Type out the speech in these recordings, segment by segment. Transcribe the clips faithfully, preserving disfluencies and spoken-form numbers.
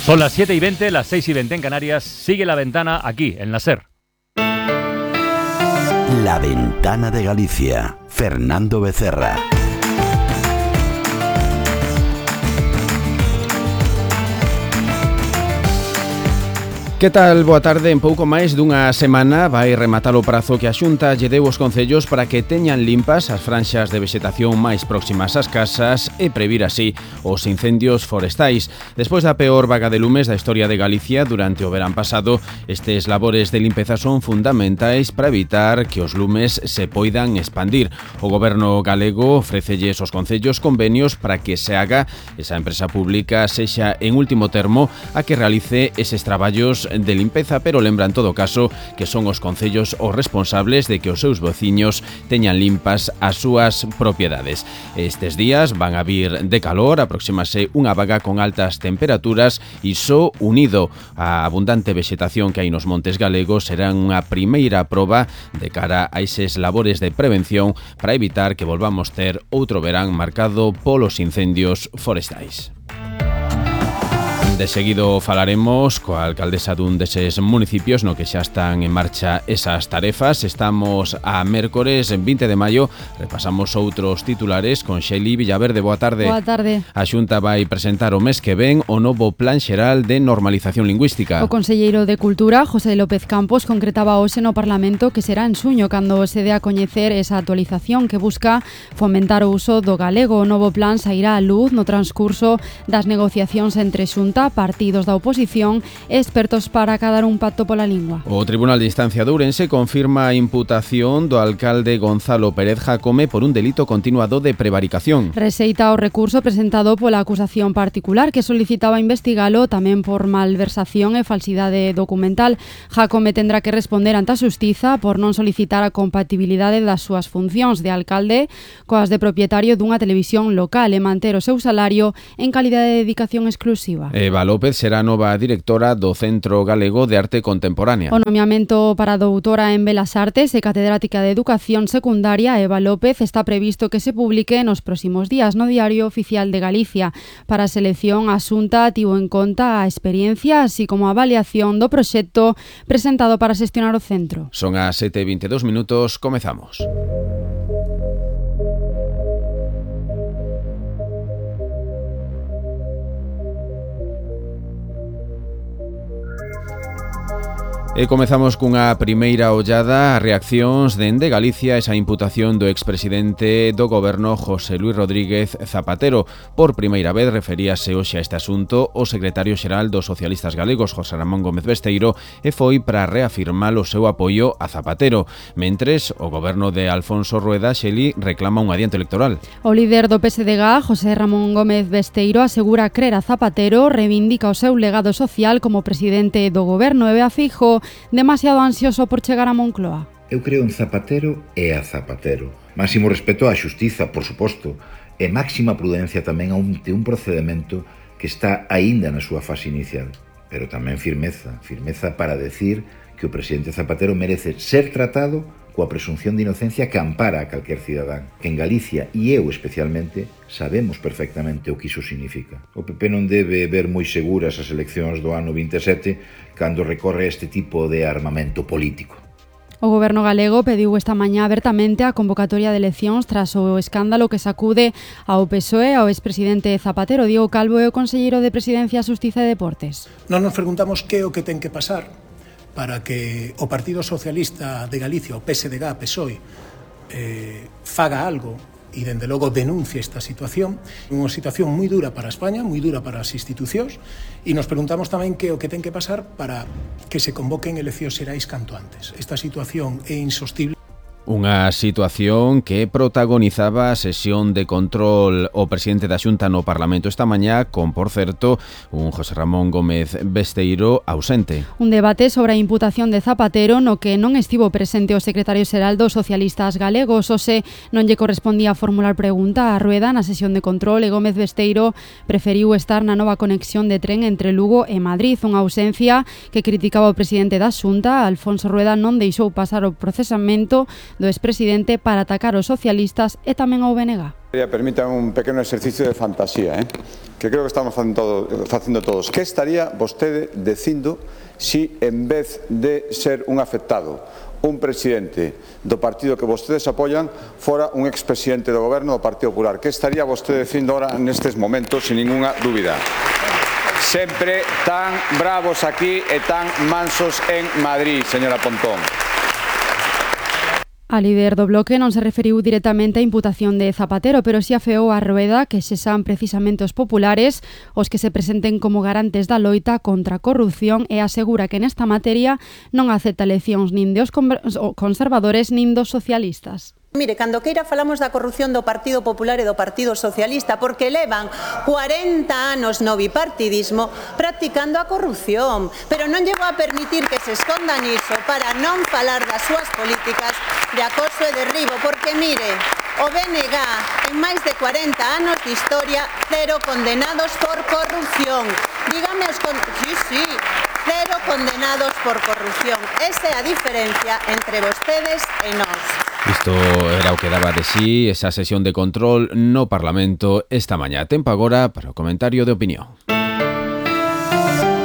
Son las siete y veinte, las seis y veinte en Canarias. Sigue La Ventana aquí, en la SER. La Ventana de Galicia. Fernando Becerra. Que tal? Boa tarde. En pouco máis dunha semana vai rematar o prazo que a Xunta lle deu aos concellos para que teñan limpas as franxas de vexetación máis próximas ás casas e previr así os incendios forestais. Despois da peor vaga de lumes da historia de Galicia durante o verán pasado, estes labores de limpeza son fundamentais para evitar que os lumes se poidan expandir. O goberno galego ofrécelles aos concellos convenios para que se haga esa empresa pública sexa en último termo a que realice eses traballos de limpeza, pero lembra en todo caso que son os concellos os responsables de que os seus veciños teñan limpas as súas propiedades. Estes días van a vir de calor, aproximase unha vaga con altas temperaturas e só unido á abundante vexetación que hai nos montes galegos serán unha primeira proba de cara a eses labores de prevención para evitar que volvamos ter outro verán marcado polos incendios forestais. De seguido falaremos coa alcaldesa dun deses municipios no que xa están en marcha esas tarefas. Estamos a mércores vinte de maio. Repasamos outros titulares con Xeli Villaverde. Boa tarde. Boa tarde. A Xunta vai presentar o mes que ven o novo Plan Xeral de Normalización Lingüística. O conselleiro de Cultura, José López Campos, concretaba hoxe no Parlamento que será en suño cando se dé a coñecer esa actualización que busca fomentar o uso do galego. O novo plan sairá á luz no transcurso das negociacións entre Xunta, partidos da oposición e expertos para acadar un pacto pola lingua. O Tribunal de Instancia de Ourense confirma a imputación do alcalde Gonzalo Pérez Jacome por un delito continuado de prevaricación. Rexeita o recurso presentado pola acusación particular que solicitaba investigalo tamén por malversación e falsidade documental. Jacome tendrá que responder ante a xustiza por non solicitar a compatibilidade das súas funcións de alcalde coas de propietario dunha televisión local e manter o seu salario en calidade de dedicación exclusiva. Eva López será nova directora do Centro Galego de Arte Contemporánea. O nomeamento para doutora en Belas Artes e catedrática de Educación Secundaria Eva López está previsto que se publique nos próximos días no Diario Oficial de Galicia. Para a selección, a Xunta tivo en conta a experiencia así como a avaliación do proxecto presentado para xestionar o centro. Son as sete e vinte e dous minutos, comezamos. E comezamos cunha primeira ollada a reaccións dende Galicia esa imputación do expresidente do goberno José Luis Rodríguez Zapatero. Por primeira vez referíase hoxe a este asunto o secretario xeral dos socialistas galegos, José Ramón Gómez Besteiro, e foi para reafirmar o seu apoio a Zapatero. Mentres, o goberno de Alfonso Rueda Xeli reclama un adianto electoral. O líder do P S D G, José Ramón Gómez Besteiro, asegura crer a Zapatero, reivindica o seu legado social como presidente do goberno e ve a Feijóo demasiado ansioso por chegar a Moncloa. Eu creo en Zapatero e a Zapatero. Máximo respeto á xustiza, por suposto, e máxima prudencia tamén ante un procedimento que está aínda na súa fase inicial. Pero tamén firmeza, firmeza para decir que o presidente Zapatero merece ser tratado coa presunción de inocencia que ampara a calquer cidadán. Que en Galicia, e eu especialmente, sabemos perfectamente o que iso significa. O P P non debe ver moi seguras as eleccións do ano vinte e sete cando recorre este tipo de armamento político. O goberno galego pediu esta mañá abertamente a convocatoria de eleccións tras o escándalo que sacude ao P S O E ao expresidente Zapatero. Diego Calvo é o conselleiro de Presidencia, Xustiza e Deportes. Non nos preguntamos que é o que ten que pasar para que o Partido Socialista de Galicia, o P S D G, P S O E, eh, faga algo e, dende logo, denuncie esta situación. Unha situación moi dura para España, moi dura para as institucións, e nos preguntamos tamén que o que ten que pasar para que se convoquen eleccións xerais canto antes. Esta situación é insostible. Unha situación que protagonizaba a sesión de control o presidente da Xunta no Parlamento esta mañá con, por certo, un José Ramón Gómez Besteiro ausente. Un debate sobre a imputación de Zapatero no que non estivo presente o secretario xeral dos socialistas galegos. Ose non lle correspondía formular pregunta a Rueda na sesión de control e Gómez Besteiro preferiu estar na nova conexión de tren entre Lugo e Madrid, unha ausencia que criticaba o presidente da Xunta. Alfonso Rueda non deixou pasar o procesamento do expresidente para atacar os socialistas e tamén ao B N G. Permítame un pequeno exercicio de fantasía, eh? que creo que estamos facendo, todo, facendo todos. Que estaría vostede dicindo si en vez de ser un afectado, un presidente do partido que vostedes apoian, fora un expresidente do goberno do Partido Popular? Que estaría vostede dicindo ahora nestes momentos, sin ninguna dúbida? Sempre tan bravos aquí e tan mansos en Madrid, señora Pontón. A líder do Bloque non se referiu directamente á imputación de Zapatero, pero si afeou a Rueda que sexan precisamente os populares os que se presenten como garantes da loita contra a corrupción e asegura que nesta materia non acepta eleccións nin dos conservadores nin dos socialistas. Mire, cando queira falamos da corrupción do Partido Popular e do Partido Socialista, porque levan cuarenta anos no bipartidismo practicando a corrupción, pero non llevo a permitir que se escondan iso para non falar das súas políticas de acoso e derribo, porque mire, o B N G en máis de cuarenta anos de historia, cero condenados por corrupción. Dígame os con... Sí, sí, cero condenados por corrupción. Esa é a diferencia entre vostedes e nós. Isto era o que daba de sí esa sesión de control no Parlamento esta mañá. Tempo agora para o comentario de opinión.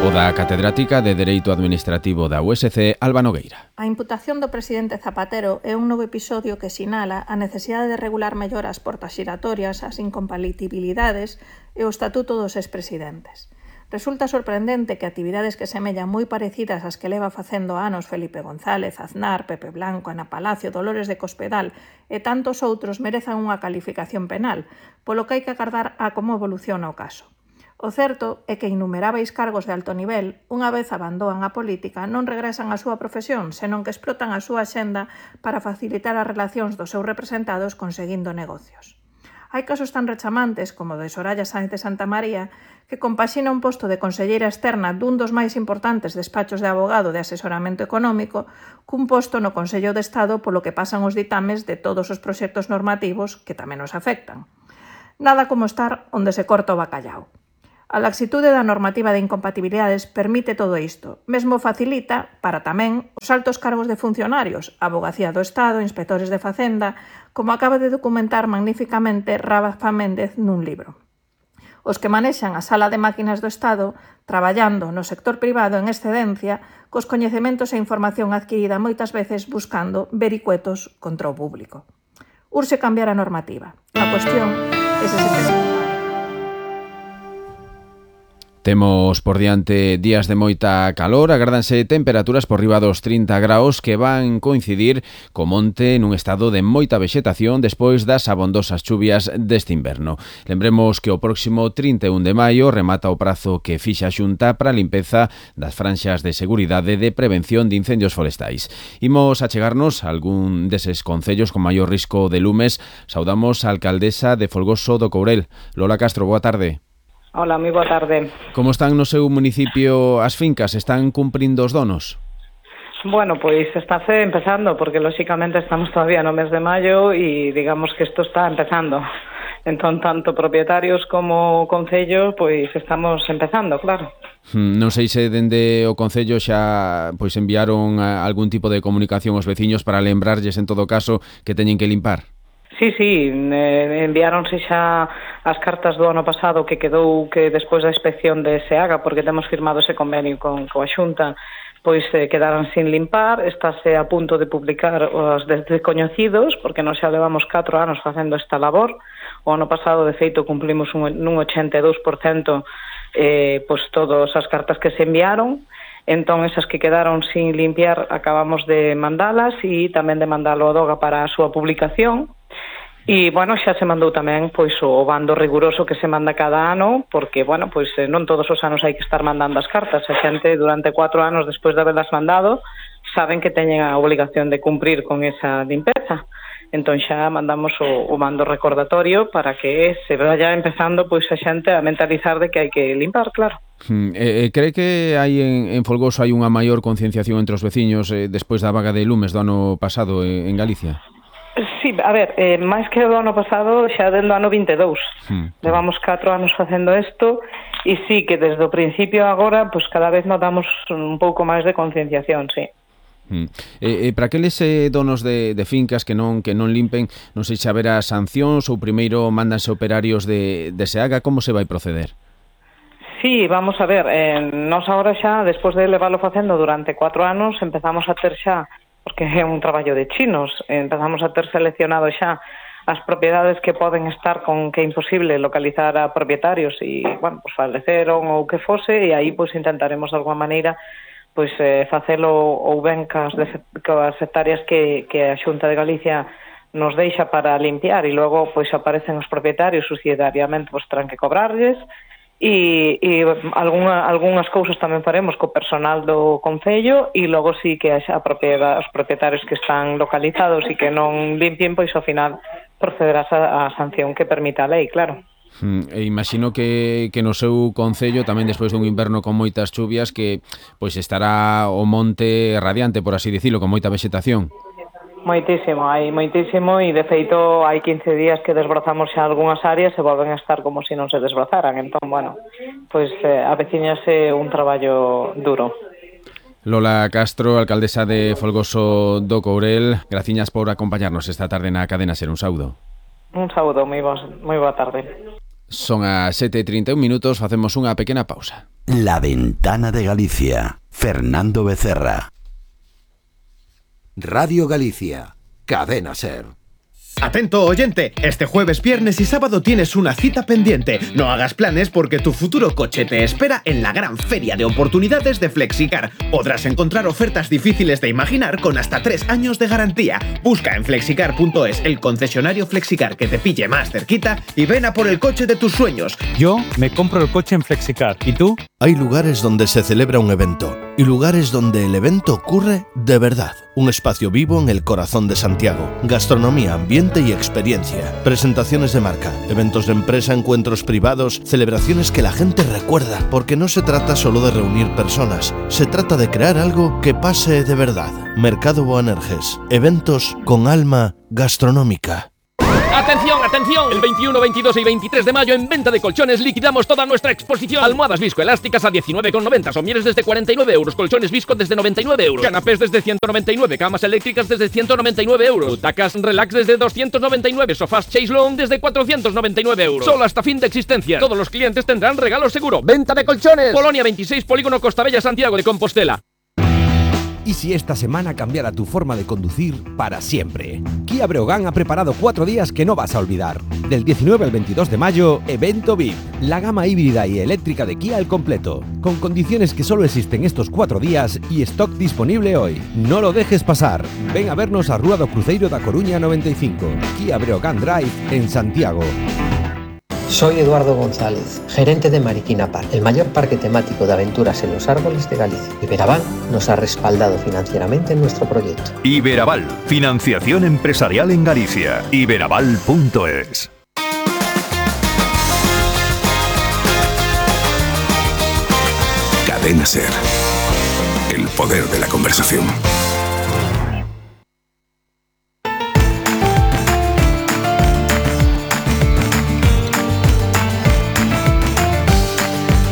O da catedrática de Dereito Administrativo da U S C, Alba Nogueira. A imputación do presidente Zapatero é un novo episodio que sinala a necesidade de regular mellor as portas xiratorias, as incompatibilidades e o estatuto dos expresidentes. Resulta sorprendente que actividades que semellan moi parecidas ás que leva facendo anos Felipe González, Aznar, Pepe Blanco, Ana Palacio, Dolores de Cospedal e tantos outros merezan unha calificación penal, polo que hai que agardar a como evoluciona o caso. O certo é que innumeráveis cargos de alto nivel, unha vez abandoan a política, non regresan á súa profesión, senón que explotan a súa axenda para facilitar as relacións dos seus representados conseguindo negocios. Hai casos tan rechamantes como o de Soraya Sáenz de Santa María, que compaxina un posto de conselleira externa dun dos máis importantes despachos de abogado de asesoramento económico cun posto no Consello de Estado polo que pasan os ditames de todos os proxectos normativos que tamén nos afectan. Nada como estar onde se corta o bacallao. A laxitude da normativa de incompatibilidades permite todo isto, mesmo facilita, para tamén, os altos cargos de funcionarios, Avogacía do Estado, inspectores de Facenda, como acaba de documentar magníficamente Rafa Méndez nun libro. Os que manexan a sala de máquinas do Estado, traballando no sector privado en excedencia, cos coñecementos e información adquirida moitas veces buscando vericuetos contra o público. Urxe cambiar a normativa. A cuestión é se se ten... Temos por diante días de moita calor, agárdanse temperaturas por riba dos trinta graus que van coincidir co monte nun estado de moita vexetación despois das abondosas chuvias deste inverno. Lembremos que o próximo trinta e un de maio remata o prazo que fixa a Xunta para a limpeza das franxas de seguridade de prevención de incendios forestais. Imos a chegarnos a algún deses concellos con maior risco de lumes. Saudamos a alcaldesa de Folgoso do Courel. Lola Castro, boa tarde. Hola, moi boa tarde. Como están no seu municipio as fincas? Están cumprindo os donos? Bueno, pois está empezando, porque lóxicamente estamos todavía no mes de maio e digamos que isto está empezando. Entón, tanto propietarios como concello, pois estamos empezando, claro. Non sei se dende o concello xa pois enviaron algún tipo de comunicación aos veciños para lembrarlles en todo caso que teñen que limpar. Sí, sí, eh, enviáronse xa as cartas do ano pasado que quedou que despois da inspección de SEAGA, porque temos firmado ese convenio con coa Xunta, pois eh, quedaron sin limpar. Estáse a punto de publicar os descoñecidos, porque nós xa levamos catro anos facendo esta labor. O ano pasado, de feito, cumplimos un, nun ochenta e dous por cento eh, pois todas as cartas que se enviaron. Entón, esas que quedaron sin limpiar acabamos de mandalas e tamén de mandalo a DOGA para a súa publicación. E, bueno, xa se mandou tamén pois o bando riguroso que se manda cada ano, porque, bueno, pois non todos os anos hai que estar mandando as cartas. A xente, durante cuatro anos despois de haberlas mandado, saben que teñen a obligación de cumprir con esa limpeza. Entón xa mandamos o, o mando recordatorio para que se vaya empezando pois a xente a mentalizar de que hai que limpar, claro. Hmm, eh, cree que hai en, en Folgoso hai unha maior concienciación entre os veciños eh, despois da vaga de lumes do ano pasado eh, en Galicia? Sí, a ver, eh, máis que o do ano pasado, xa dentro do ano vinte e dous. Hmm. Levamos catro anos facendo isto e sí que desde o principio agora, pues cada vez notamos un pouco máis de concienciación, sí. Mm. E, e para aqueles eh, donos de, de fincas que non que non limpen, non sei se haberá sancións ou primeiro mándanse operarios de, de SEAGA, como se vai proceder? Sí, vamos a ver, eh, nos agora xa, despois de leválo facendo durante cuatro anos, empezamos a ter xa, porque é un traballo de chinos, empezamos a ter seleccionado xa as propiedades que poden estar con que é imposible localizar a propietarios e, bueno, pues faleceron ou que fose, e aí pois intentaremos de alguma maneira pois eh, facelo ou ben cas, de, cas hectáreas que, que a Xunta de Galicia nos deixa para limpiar e logo pois aparecen os propietarios subsidiariamente, pois terán que cobrarles e, e algunha, algunhas cousas tamén faremos co personal do Concello e logo sí que a propiedade, os propietarios que están localizados e que non limpien, pois ao final procederás a, a sanción que permita a lei, claro. E imagino que, que no seu concello tamén despois dun inverno con moitas chuvias que pois estará o monte radiante, por así dicilo, con moita vexetación. Moitísimo, hai moitísimo e de feito hai quince días que desbrozamos xa algunhas áreas e volven a estar como se non se desbrozaran. Entón, bueno, pois eh, aveciñase un traballo duro. Lola Castro, alcaldesa de Folgoso do Courel, graciñas por acompañarnos esta tarde na Cadena Ser. Un saúdo. Un saúdo, moi, bo, moi boa tarde. Son as sete e trinta e un minutos, facemos unha pequena pausa. La Ventana de Galicia, Fernando Becerra. Radio Galicia, Cadena Ser. Atento oyente, este jueves, viernes y sábado tienes una cita pendiente. No hagas planes porque tu futuro coche te espera en la gran feria de oportunidades de Flexicar. Podrás encontrar ofertas difíciles de imaginar con hasta tres años de garantía. Busca en flexicar punto es el concesionario Flexicar que te pille más cerquita y ven a por el coche de tus sueños. Yo me compro el coche en Flexicar. ¿Y tú? Hay lugares donde se celebra un evento y lugares donde el evento ocurre de verdad. Un espacio vivo en el corazón de Santiago. Gastronomía, ambiente y experiencia. Presentaciones de marca, eventos de empresa, encuentros privados, celebraciones que la gente recuerda. Porque no se trata solo de reunir personas, se trata de crear algo que pase de verdad. Mercado Boanerges. Eventos con alma gastronómica. ¡Atención, atención! El veintiuno, veintidós y veintitrés de mayo en Venta de Colchones liquidamos toda nuestra exposición. Almohadas viscoelásticas a diecinueve con noventa, somieres desde cuarenta y nueve euros, colchones visco desde noventa y nueve euros, canapés desde ciento noventa y nueve, camas eléctricas desde ciento noventa y nueve euros, butacas relax desde doscientos noventa y nueve, sofás Chase Long desde cuatrocientos noventa y nueve euros. Solo hasta fin de existencia. Todos los clientes tendrán regalo seguro. Venta de Colchones. Polonia veintiséis, Polígono Costabella, Santiago de Compostela. ¿Y si esta semana cambiara tu forma de conducir para siempre? Kia Breogán ha preparado cuatro días que no vas a olvidar. Del diecinueve al veintidós de mayo, Evento V I P. La gama híbrida y eléctrica de Kia al completo. Con condiciones que solo existen estos cuatro días y stock disponible hoy. No lo dejes pasar. Ven a vernos a Rúa do Cruzeiro da Coruña noventa y cinco. Kia Breogán Drive en Santiago. Soy Eduardo González, gerente de Mariquina Park, el mayor parque temático de aventuras en los árboles de Galicia. Iberaval nos ha respaldado financieramente en nuestro proyecto. Iberaval, financiación empresarial en Galicia. Iberaval punto es. Cadena Ser. El poder de la conversación.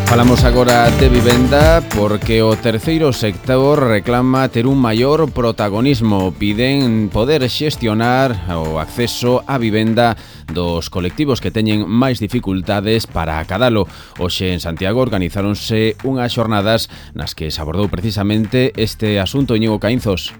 Falamos agora de vivenda porque o terceiro sector reclama ter un maior protagonismo. Piden poder xestionar o acceso á vivenda dos colectivos que teñen máis dificultades para acadalo. Hoxe en Santiago organizáronse unhas xornadas nas que se abordou precisamente este asunto. Íñigo Caínzos.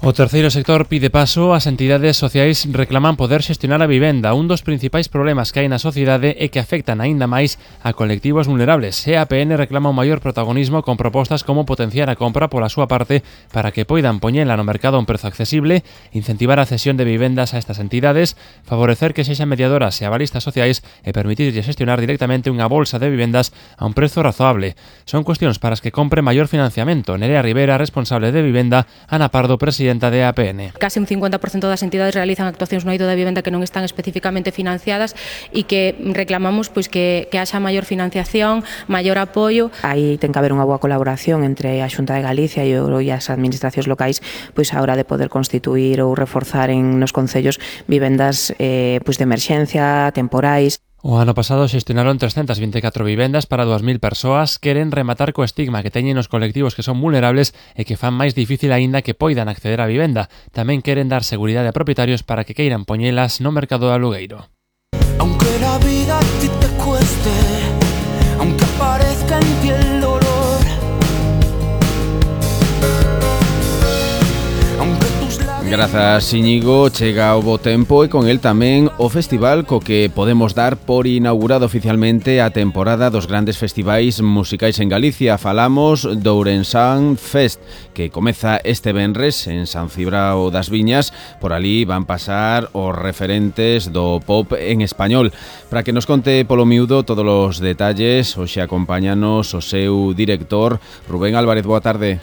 O terceiro sector pide paso, as entidades sociais reclaman poder xestionar a vivenda. Un dos principais problemas que hai na sociedade é que afectan aínda máis a colectivos vulnerables. E a P N reclama un maior protagonismo con propostas como potenciar a compra pola súa parte para que poidan poñela no mercado a un prezo accesible, incentivar a cesión de vivendas a estas entidades, favorecer que sexan mediadoras e avalistas sociais e permitirlle xestionar directamente unha bolsa de vivendas a un prezo razoable. Son cuestións para as que compre maior financiamento. Nerea Rivera, responsable de vivenda, Ana Pardo, presidente de A P N. Casi un cincuenta por ciento das entidades realizan actuacións no eido da vivenda que non están especificamente financiadas e que reclamamos pois que, que haxa maior financiación, maior apoio. Aí ten que haber unha boa colaboración entre a Xunta de Galicia e as administracións locais pois a hora de poder constituir ou reforzar en nos concellos vivendas eh, pois de emerxencia, temporais. O ano pasado xestionaron trescentas vinte e catro vivendas para dúas mil persoas. Queren rematar co estigma que teñen os colectivos que son vulnerables e que fan máis difícil aínda que poidan acceder á vivenda. Tamén queren dar seguridade a propietarios para que queiran poñelas no mercado de alugueiro. Aunque la vida a ti te cueste, aunque aparezca en ti el dolor, Grazas, Íñigo. Chega o bo tempo e con el tamén o festival co que podemos dar por inaugurado oficialmente a temporada dos grandes festivais musicais en Galicia. Falamos do Ourensán Fest, que comeza este venres en San Cibrao das Viñas. Por ali van pasar os referentes do pop en español. Para que nos conte polo miúdo todos os detalles, hoxe acompáñanos o seu director, Rubén Álvarez. Boa tarde.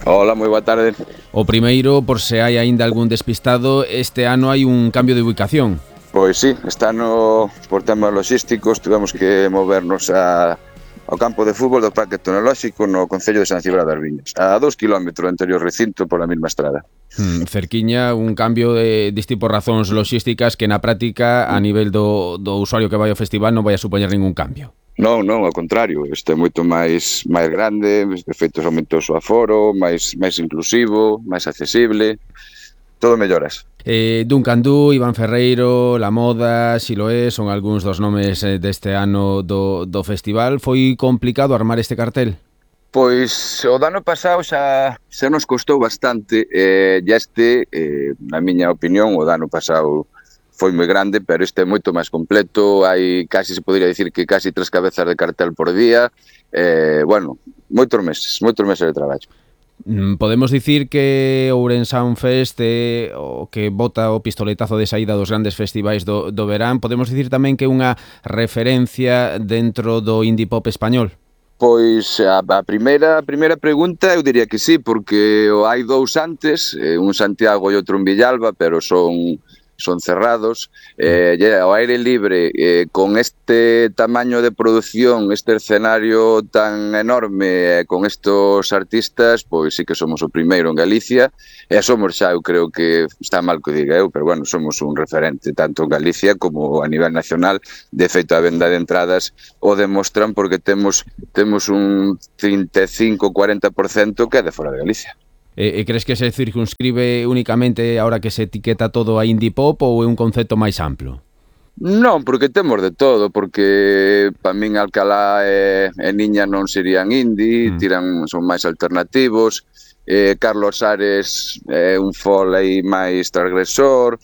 Hola, moi boa tarde. O primeiro, por se hai aínda algún despistado, este ano hai un cambio de ubicación. Pois sí, este ano, por temas logísticos, tivemos que movernos a, ao campo de fútbol do Parque Tecnolóxico no concello de San Cibrao das Viñas, a dous kilómetros do anterior recinto pola mesma estrada. Hmm, cerquiña, un cambio de distintas por razóns logísticas que na práctica, a nivel do, do usuario que vai ao festival, non vai a supoñer ningún cambio. Non, non, ao contrario, este é moito máis máis grande, de feito aumentou o aforo, máis máis inclusivo, máis accesible, todo melloras. Eh, Duncan Du, Iván Ferreiro, La Moda, Siloé, son algúns dos nomes deste ano do, do festival. Foi complicado armar este cartel? Pois o do ano pasado xa, xa nos costou bastante, eh, e este, eh, na miña opinión, o do ano pasado foi moi grande, pero este é moito máis completo, hai casi, se podría dicir que casi tres cabezas de cartel por día, eh, bueno, moitos meses, moitos meses de traballo. Podemos dicir que o Ourensán Fest é o que bota o pistoletazo de saída dos grandes festivais do, do verán. Podemos dicir tamén que é unha referencia dentro do indie pop español? Pois a, a primeira a primeira pregunta eu diría que sí, porque hai dous antes, un Santiago e outro en Villalba, pero son son cerrados, eh, ao aire libre, eh, con este tamaño de producción, este escenario tan enorme, eh, con estos artistas, pois sí que somos o primeiro en Galicia, e somos xa, eu creo que está mal que diga eu, pero bueno, somos un referente tanto en Galicia como a nivel nacional. De feito, a venda de entradas o demostran, porque temos temos un trinta e cinco a cuarenta por cento que é de fora de Galicia. E, e crees que se circunscribe únicamente ahora que se etiqueta todo a indie pop ou é un concepto máis amplo? Non, porque temos de todo, porque para min Alcalá e, e Niña non serían indie, mm. tiran, son máis alternativos, eh, Carlos Ares é un folk aí máis transgresor,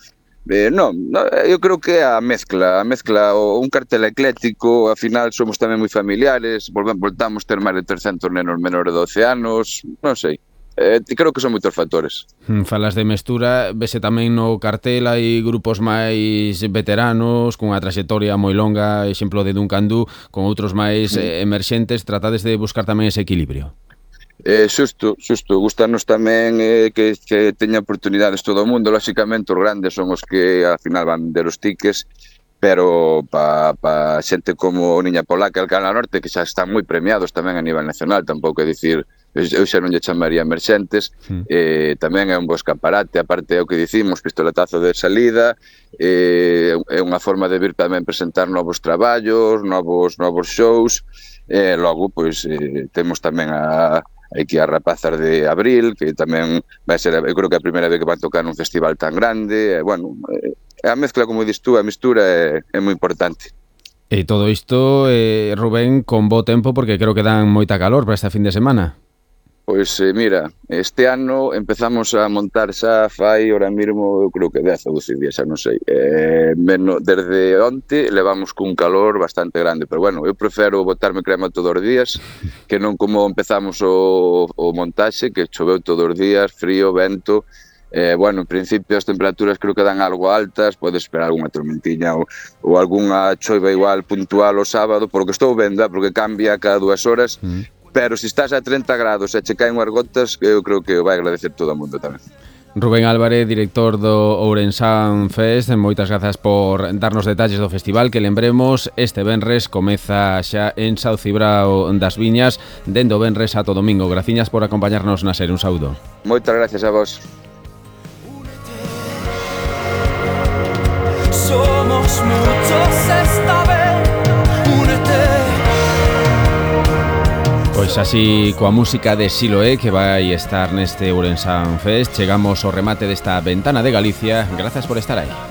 eh, non, no, eu creo que é a mezcla, a mezcla, o, un cartel ecléctico, ao final somos tamén moi familiares, voltamos ter máis de trescentos nenos menores de doce anos, non sei. Eh, creo que son moitos factores. Falas de mestura, vese tamén no cartel, hai grupos máis veteranos cunha traxectoria moi longa, exemplo de Duncan Du, con outros máis eh, emerxentes. Tratades de buscar tamén ese equilibrio. Eh, xusto, xusto, gustanos tamén eh, que, que teña oportunidades todo o mundo. Lóxicamente os grandes son os que ao final van vender os tickets, pero para pa xente como Niña Polaca e Alcalá Norte, que xa están moi premiados tamén a nivel nacional, tampouco é dicir, eu xa non lle chamaría emerxentes, mm. eh, tamén é un bo escaparate, aparte é o que dicimos, pistoletazo de salida, eh, é unha forma de vir tamén presentar novos traballos, novos novos shows, e eh, logo, pois, eh, temos tamén a aquí as rapazas de Abril, que tamén vai ser, eu creo que é a primeira vez que van tocar nun festival tan grande, e, bueno, eh, a mezcla, como dis tú, a mistura é, é moi importante. E todo isto, eh, Rubén, con bo tempo, porque creo que dan moita calor para esta fin de semana. Pois eh, mira, este ano empezamos a montar xa fai, ahora mesmo, eu creo que dez ou doce días, xa non sei. Eh, menos, desde onte levamos cun calor bastante grande, pero bueno, eu prefiro botarme crema todos os días, que non como empezamos o, o montaxe, que choveu todos os días, frío, vento. Eh, bueno, en principio as temperaturas creo que dan algo altas, podes esperar algunha tormentiña ou, ou algunha choiva igual puntual o sábado, porque estou vendo, porque cambia cada dúas horas, mm. pero se estás a treinta grados e che caen unhas gotas, eu creo que o vai agradecer todo o mundo tamén. Rubén Álvarez, director do Ourensán Fest, moitas grazas por darnos detalles do festival, que lembremos, este venres comeza xa en San Cibrao das Viñas, dende o venres a todo domingo. Graciñas por acompañarnos na SER, un saúdo. Moitas gracias a vos. Somos muchos esta vez. Pois así, coa música de Siloé que vai estar neste Ourense Fest, chegamos ao remate desta ventana de Galicia. Grazas por estar aí.